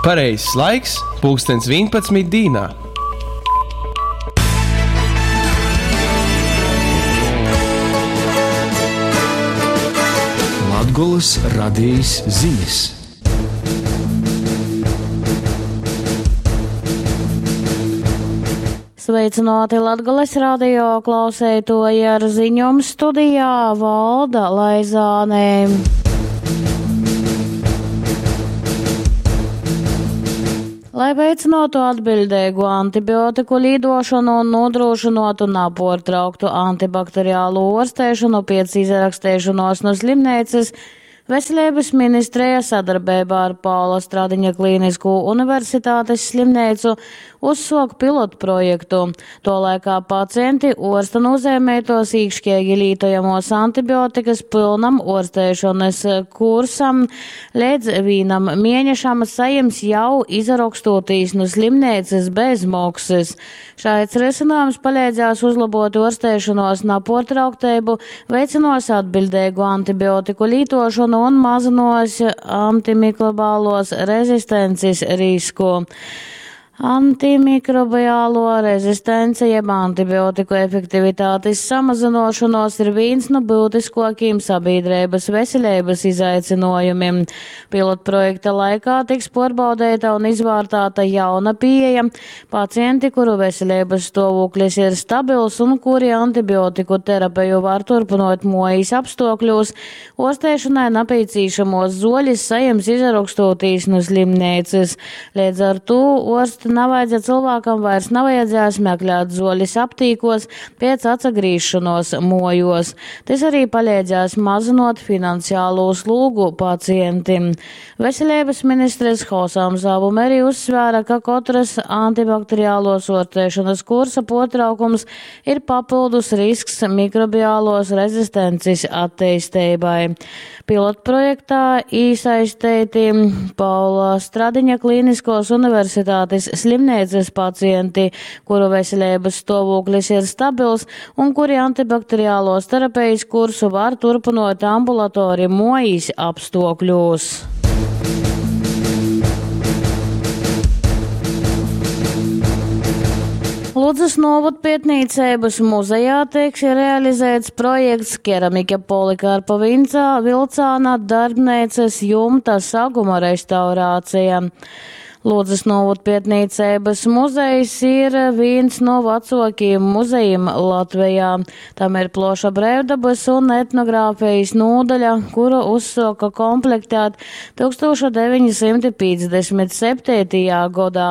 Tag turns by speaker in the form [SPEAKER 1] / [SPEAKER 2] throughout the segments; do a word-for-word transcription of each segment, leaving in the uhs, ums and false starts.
[SPEAKER 1] Pareizais laiks – pulkstens vienpadsmit dīnā.
[SPEAKER 2] Latgolys radejis zinis.
[SPEAKER 3] Sveicināti Latgales radio klauseitoji ar ziņom studijā Valda Laizāne. Lai veicinātu atbildīgu antibiotiku līdošanu un nodrošinātu naportrauktu antibakteriālu ārstēšanu pēc izrakstēšanos no slimnīcas, Veselības ministrija sadarbībā ar Paula Stradiņa Klīnisko universitātes slimnīcu uzsāk pilotprojektu. To laikā pacienti orsta nozīmētos īkšķīgi lītojamos antibiotikas pilnam orstēšanas kursam līdz vīnam mēnešam sajims jau izrakstotīs no slimnīcas bez maksas. Šāds risinājums palīdzēs uzlabot orstēšanos naportrauktību, veiциnos atbildīgu antibiotiku lītošanu un mazinos antimikrobālos rezistences risku. Antimikrobiālo rezistence jeb antibiotiku efektivitātes samazinošanos ir viens no būtiskākajiem sabiedrības veselības izaicinājumiem. Pilotprojekta laikā tiks pārbaudīta un izvērtēta jauna pieeja. Pacienti, kuru veselības stāvoklis ir stabils un kuri antibiotiku terapiju var turpinot mojas apstākļos, ārstēšanai nepieciešamos zoļus saņems izrakstotīs no slimnīcas. Līdz ar to orsti nav vajadzēja cilvēkam vairs nevajadzēs meklēt zoļus aptīkos pēc atsagrīšanos mojos. Tas arī palīdzēs mazinot finansiālo slūgu pacientim. Veselības ministres Hosams Abumeri uzsvēra, ka katras antibakteriālos ārstēšanas kursa potraukums ir papildus risks mikrobiālos rezistences attīstībai. Pilotprojektā iesaistīti Paula Stradiņa Klīniskos universitātes slimnīcas pacienti, kuru veselības stāvoklis ir stabils un kuri antibakteriālos terapijas kursu var turpinot ambulatori mojas apstākļos. Ludzas novadpētniecības muzejā tiks realizēts projekts Keramika Polikarpa Vincā, Vilcāna darbnīcas jumta saguma restaurācija. Ludzas novadpētniecības muzejs ir viens no vecākajiem muzejiem Latvijā. Tam ir ploša brīvdabas un etnogrāfijas nodaļa, kuru uzsāka komplektēt tūkstoš deviņsimt piecdesmit septītajā gadā.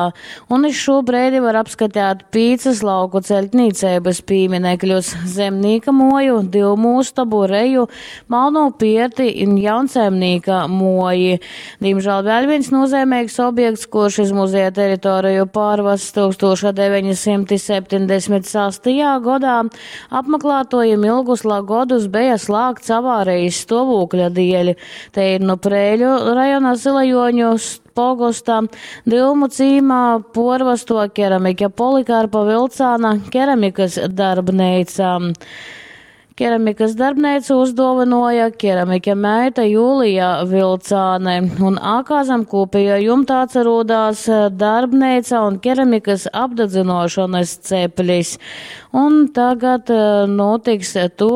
[SPEAKER 3] Un iz šo brīdi var apskatīt piecas lauku celtniecības pieminekļus – zemnieka moju, divu mūstabu, reju, malno pierti un jaunsaimnieka moji. Diemžēl vēl viens nozīmīgs objekts, kurš iz muzeja teritoriju pārvests tūkstoš deviņsimt septiņdesmit sastajā gadā, apmeklētojiem ilgus godus bija slēgts avārijas stāvokļa dēļ. Te ir no Prēļu rajona Zilajoņu pogosta Dilmu cīmā porvasto keramiķa Polikarpa Vilcāna keramikas darbnīca. Keramikas darbnīcu uzdāvināja keramiķa meita Jūlija Vilcāne, un ākā zem kopējā jumta atcerodās darbnīca un keramikas apdedzinošanas ceplis. Un tagad notiks to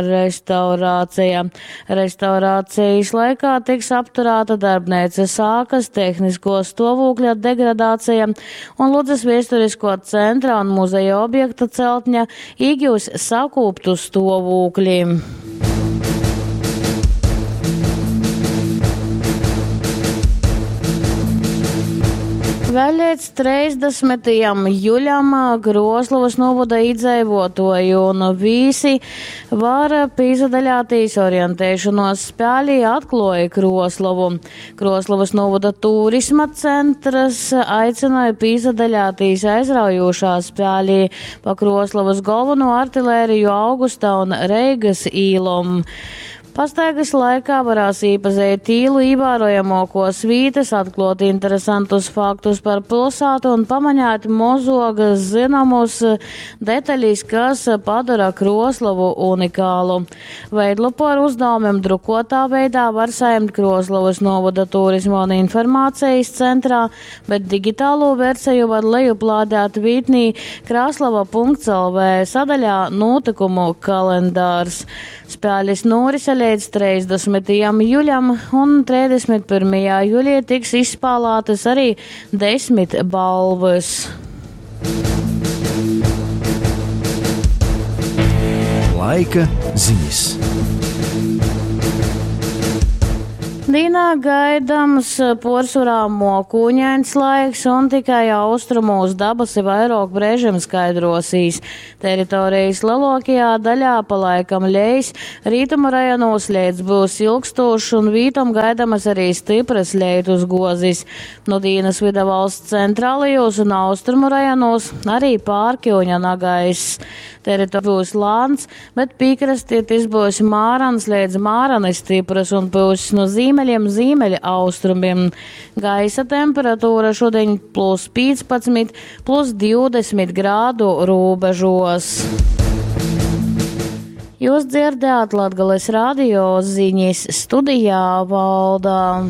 [SPEAKER 3] restaurācija. Restaurācijas laikā tiks apturēta darbnīcas ākas, tehnisko stāvokļa degradācija un Ludzas vēsturisko centra un muzeja objekta celtņa iegūs sakūptu stāvokli. Vēl līdz trīsdesmitajam juļam Kroslovas novada iedzīvotāji un vīsi var pīzadaļātīs orientēšanos spēlī atklāja Kroslovu. Kroslovas novada turisma centrs aicināja pīzadaļātīs aizraujošā spēlī pa Kroslovas galveno artilēriju Augusta un Reigas īlom. Pastaigas laikā varēs iepazīt īlu īvērojamākos vītas, atklāt interesantus faktus par pilsētu un pamanīt mozogas zināmus detaļas, kas padara Kroslovu unikālu. Veidlapu ar uzdevumiem drukotā veidā var saņemt Kroslovas novada turisma un informācijas centrā, bet digitālo versiju var lejuplādēt vītnī krāslava.lv sadaļā notikumu kalendārs. Spēles norise līdz trīsdesmitajam juļam un trīsdesmit pirmajā jūlijā tiks izspēlētas arī desmit balvas.
[SPEAKER 2] Laika ziņas.
[SPEAKER 3] Dīnā gaidams porcelāna mokūņains laiks un tikai austrumos dabasi vairāk brēžiem skaidrosīs. Teritorijas lielākajā daļā pa laikam lejas, rītumu rajonos lietus būs ilgstošs un vītom gaidamas arī stipras lietus gozis. No Dīnas vida valsts centrālajos un austrumu rajonos arī pārkiuņa nagaiss. Teritorija būs lāns, bet piekrastē tas būs mārans līdz mārani stipras un būs no zīmeļiem zīmeļa austrumiem. Gaisa temperatūra šodien plus piecpadsmit, plus divdesmit grādu robežos. Jūs dzirdējāt Latgales radio ziņas studijā Valda.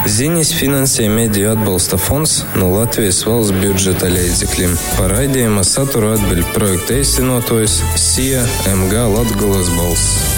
[SPEAKER 4] Ziņas finansē Mediju atbalsta fonds no Latvijas valsts budžeta līdzekļiem. Par raidījuma saturu atbild projekta īstenotājs S I A M G Latgales balss.